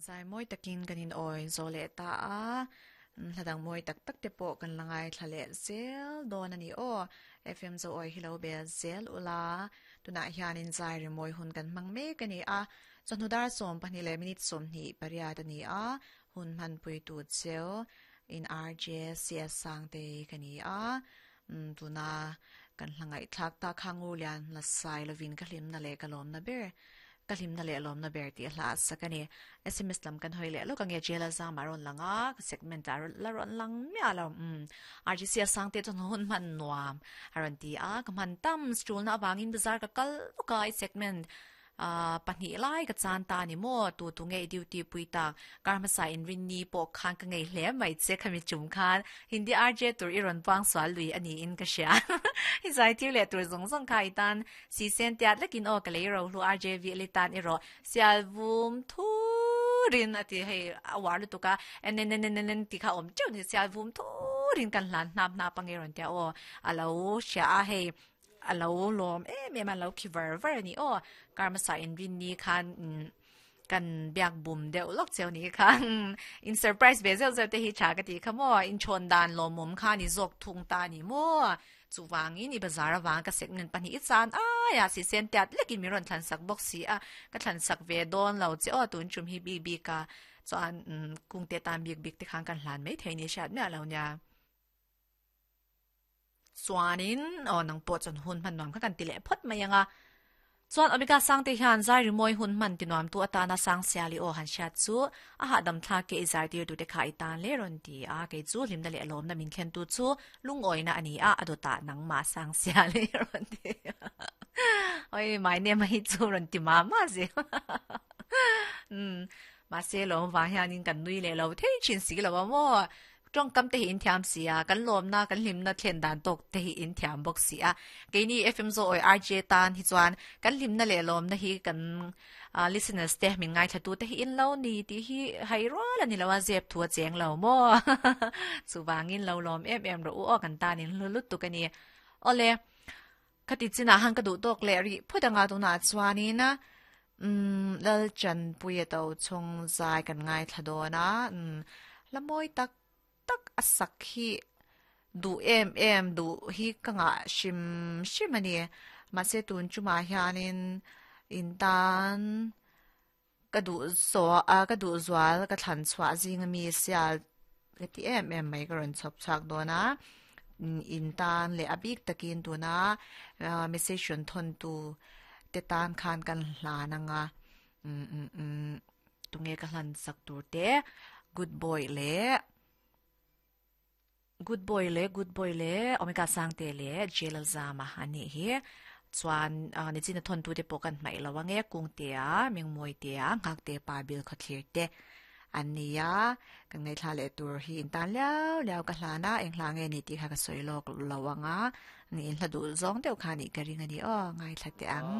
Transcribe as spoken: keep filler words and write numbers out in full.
Zai mawi takin kan in awi zo leh ta a hladang mawi tak tak te pawh kan la ngai thla leh zel dawn a ni aw F M zo awi hi lo bel zel ula tunah hianin zai ri mawi hun kan hmang mek a ni a chawhnu dar sawm pahnih leh minute sawmhnih pariat a ni a hun hmanpui tu cheu in R J C S Sangte ka ni a tuna kan hlangai thlak ta khangu lian la sai lovin ka hlimna leh ka lawmna ber ka hlimna leh lawmna ber ti hla sakani S M S lam kan hoi leh lo ka nge jela zam aron langa segment ar la ron lang mia lo um R G C Sangte chon hun man nuam aron ti a ka man tam stul na wangin bazar ka kal ka segment a pahnih lai ka chan ta ni mo tu tu nge duty pui ta karma sa in rin ni po khan ka ngei hle mai che khami chum khan Hindi R J tur i ron pang swal lui ani in ka sha hi zai tir le tur zong zong khai tan si sen tiat lekin o ka lei ro hlu R J V le tan i ro sial vum thu rin ati hei awar lu tuka en en en en en ti kha om cheu ni sial vum thu rin kan hlan nap na pange ron tia o alo sha a hei alo lom em em alo ki ver ver ni o karma sa in rin ni khan kan biak bum deuh lok cheu ni khan in surprise be zel zel te hi cha ka ti kha mo in chon dan lo mum kha ni zok thung ta ni mo chu wangin i bazar awang ka segment pani i chan a ya si sen tiat lekin mi ron thlan sak box si a ka thlan sak ve don lo che o tun chum hi bi bi ka chuan kung te tan bik bik te khan kan hlan mai thei ni shat me lo nya chuanin o nang po chon hun man nuam kha kan ti le phot mai anga chuan omega sang te hian zai ri moi hun man ti nuam tu atana sang siali o han shat chu a ha dam thla ke zai tir tu te kha i tan le ron ti a ke chu hlim na le lom na min khen tu chu lungoi na ani a adota nang ma sang siali ron ti oi my name hi chu ron ti ma ma ze um ma se lo wa hianin kan nui le lo thei chin si lo mo trong kam te hi in thiam sia kan lom na kan hlim na thlen dan tok te hi in thiam bok sia keini F M zo oi R J tan hi chuan kan hlim na le lom na hi kan listeners te min ngai thatu te hi in lo ni ti hi hai ro la ni lawa zep thua cheng lo mo chu wangin lo lom em em ro o kan tan in lu tu ka ni ole khati china hang ka du tok le ri phudanga tu na chuanin um lal chan puya to chung zai kan ngai thadona um lamoi tak tak asak hi du em em du hi ka nga shim shim ani ma se tun chuma hianin in tan ka du so a ka du zwal ka thlan chwa jing mi sial ka ti em em mai ka ron chop chak dona in tan le abik takin tuna message thon tu te tan khan kan hla na nga um um um tunge ka hlan sak tur te good boy le good boy le good boy le omega sang te le jelal zama ani hi chuan ni chin thon tu te pokan mai lawange kung te a mingmoi te a ngak te pa bil khathir te ania kan ngai thla le tur hi in tan liao liao ka hlana eng hla nge ni ti kha ka soilok lawanga ni in hla du zong deuh kha ni ka ring ani o ngai thla te ang.